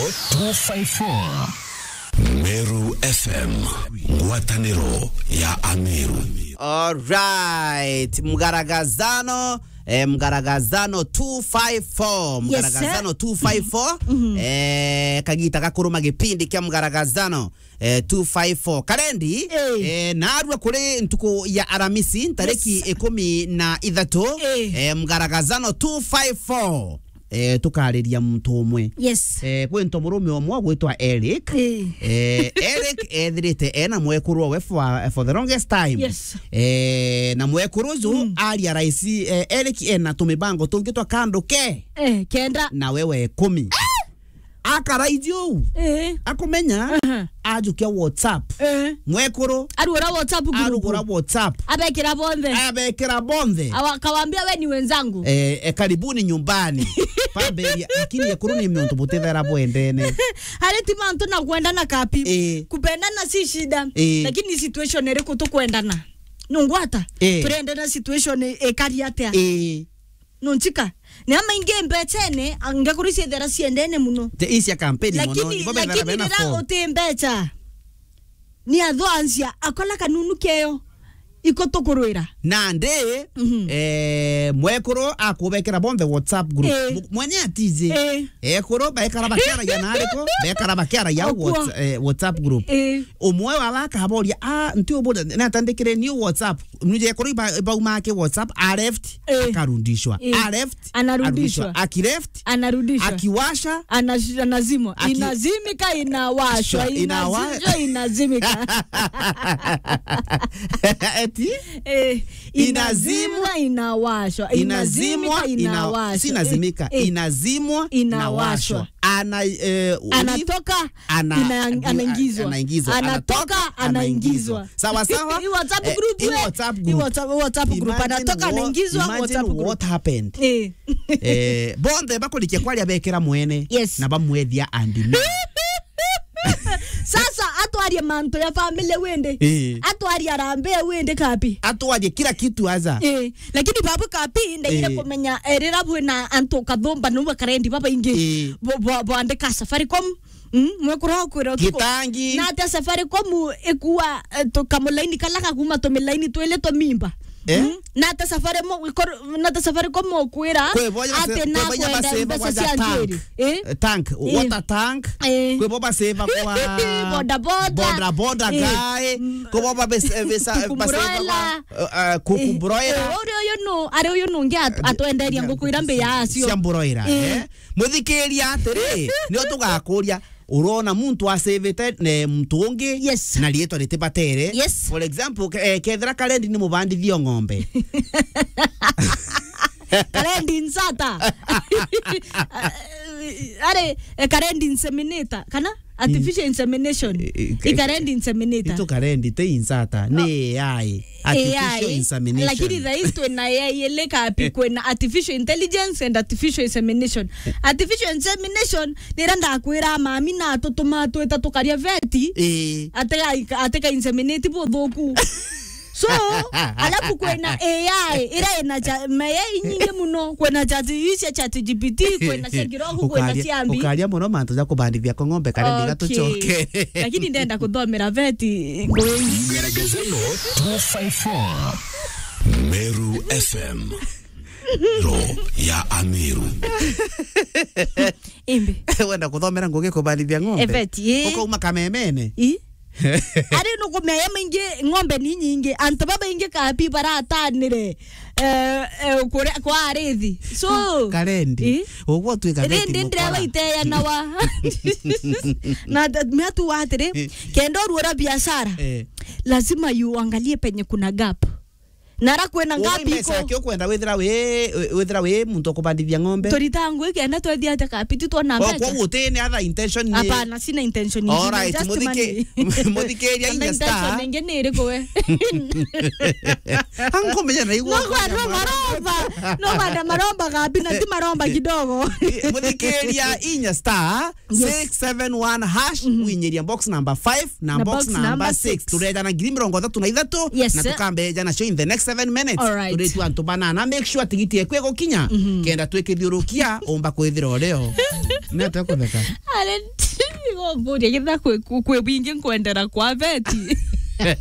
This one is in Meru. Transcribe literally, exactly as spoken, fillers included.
two five four. Meru F M, ngwataniro ya Ameru. All right, Mgaragazano, eh, Mgaragazano two five four, Yes, sir. Mgaragazano two five four, eh, kagita gakuruma gipindi kia Mgaragazano, eh, two five four. Karendi, Eh. eh, narua kuri ntuku ya Aramisi, ntariki Yes. ikumi na ithatu, Eh. eh, Mgaragazano two five four. Eh, tukariria muntu umwe. Yes. Eh, kwi nto murume umwe gwitwa Eric. Eh. Eh, Eric ethirite ena mwekuru we for, for the longest time. Yes. Eh, na mwekuru uju Mm. aria raisi, eh, Eric ena tumibango tungi twa kandu ke. Eh, kenda. Na wewe ikumi. Akaraiji uu. Eh. Akumenya, Aha. ajukia WhatsApp. Eh. Mwekuru. Arugura WhatsApp group. Arugura WhatsApp. Abekira bonthe. Abekira bonthe. Awa-, akawaambia, "We ni wenzangu." Eh, eh, karibuni nyumbani. Pamberi, lakini ekuru ni miuntu butithera bwendene. Hari ti mantu na kwendana kapi. Eh. Kupendana si shida. Eh. Lakini situation iriku tukwendana? Nungwata? Eh. Turendana situation i-, ikari atia? Eh. Nunchika. Ni amaingi mbechene, angekuru ciethera ciendene muno. Te isia kampeni mono, Lakini, ibo bethera lakini bena rira phone. Uti mbecha, ni atho ansia, akola kanunu keyo, iko tukurwira. Nandi, Mhm. eh, mwekuru akubekera bonthe WhatsApp group. Eh. Mu-, mwenye atizi. Eh. Ekuru baikara bakiaragia na ariko, baikara bakiaragia Okwo. Whats-, eh, WhatsApp group. Eh. Umwe waba akaboria, "Ah, nti uburia, natandikire ni WhatsApp." Nuje kuri ba-, bauma ake WhatsApp, a left, Eh. akarudishwa. Eh. A left, Anarudishwa. arudishwa. Aki left, Anarudishwa. akiwasha. Anash-, anazimwa. Aki- Inazimika, inawashwa. Shwa, inawa- Inazimika, inazimika. Eti? Eh, Inazimwa. inazimika, inawashwa. Inazimwa, Inazimika, ina-, inawashwa. si inazimika. Eh, eh. Inazimwa, Inawashwa. inawashwa. Ana-, eh, Anatoka, ana-, ina-, anaingizwa. anaingizwa. Anatoka, Anatoka, anaingizwa. anaingizwa. Sawa, sawa. Hii WhatsApp Eh, group hii we. WhatsApp Hii group. WhatsApp, WhatsApp group. Imagine Anatoka, what, anaingizwa, imagine WhatsApp group. what happened. Eh. Eh, bonthe bakurikia kwaria bekira mwene Yes. na bamwethia and me. Sasa atwarie mantu ya family wende. Eh. Atwarie arambe wende kapi. Atwarie kila kitu aza. Eh. Lakini babu kapi ndaire Eh. kumenya, eh, rira bwina antu kathumba nu bakarendi babaingi. Eh. Bo-, bo-, boandika Safaricom. Mm, mwekuru akwira utuku. Gitangi. Na ata Safaricom ikua, eh, tu-, kamulaini kala kakuma tumilaini twili twa mimba. Eh? Mm, na ata Safaricom ikor-, na ata Safaricom ukwira Kwi bo ya ati se-, na kwi bo ya kwenda baseva mbeca kwa cia tank. Njeri. Eh? Eh, tank, Eh. water tank. Eh. Kwi bo baseva kwa Boda boda. boda boda Eh. guy. Mm. Kwi bo babes-, eh, besa-, Kuku baseva broiler. kwa, eh, eh, kuku Eh. broiler. Eh, uri uyu nu, ari uyu nungi at-, Eh, atwenderia nguku ira mbi yacio. Cia broiler, Eh. eh? Muthikiria atiri, nio tugakuria, urona muntu asevete ne muntu ungi Yes. na riitwa ritibatere. Yes. For example, ke-, eh, kethira Karendi ni mubandithio ng'ombe. Karendi nsata. Ari, eh, Karendi inseminator, kana artificial insemination. Eh, eh, I Karendi inseminator. Itu Karendi te insata, ni A I. Artificial A I, insemination. Lakini thaa ici twina A I ili kapi, Eh. kwina artificial intelligence and artificial insemination. Eh. Artificial insemination, nira ndakwira mami na tutuma twita tukaria veti, Eh. ateka, ateka inseminate buthuku. So, alafu kwina A I, ira ina cha, mayai nyingi muno, kwina chat, icia chat G P T, kwina cia kirogo, kwina Ukaria, cia mbi. Ukaria muno mantu ja kubandithia kwa ng'ombe, Karendi Okay. gatucoke. Lakini ndenda kuthomera veti ngugi. Mgeregezano two five four. Meru F M. Ro ya Ameru. Imbi. Wenda kuthomera ngugi kubandithia ng'ombe? Eveti, ii. Ukauma kamemene? Ii. Ari nukumea maingi, ng'ombe ni nyingi. Antu babaingi kapi baratanire, eh, eh, kuria-, kwa arithi. So, Karendi. Ii. Uguo twika veti Rindi ndira mukora. Waiteanawa. Na th-, mea tu atiri, Eh. kenda uruora biashara, Eh. lazima uangalie penye kuna gap. Nara kwina Uwe ngapi mbeca iko? Yake ukwenda withira wi, withira wi muntu ukubandithia ng'ombe? Turita ngui kenda twethia atia kapi, ti twona O, mbeca? Kwa gutini other intention ni Hapana, sina intention ingine. All right, just muthiki-, money. Muthikiria Kana inya intention star. Ingine ni iriku we? Ankumenya na igua No kwa kwenda no mwana. Maromba. No kwa maromba kapi, na ti maromba kidogo. Muthikiria inya star Yes. six seven one hash, Mhm. winyiria box number five na Na box box number number six. six. Turejana ngiri mirongo ithatu na ithatu, Yes, na sir. Tukambejana show in the next seven minutes. All right. Turitu antu banana. Make sure tigiti eku igukinya. Mhm. Kenda twikithiurukia, umba kwithira urio. Nete kutheka. Ale, ngokuria, kethira kwi, kwi, kwi bwingi nkwendera kwa beti.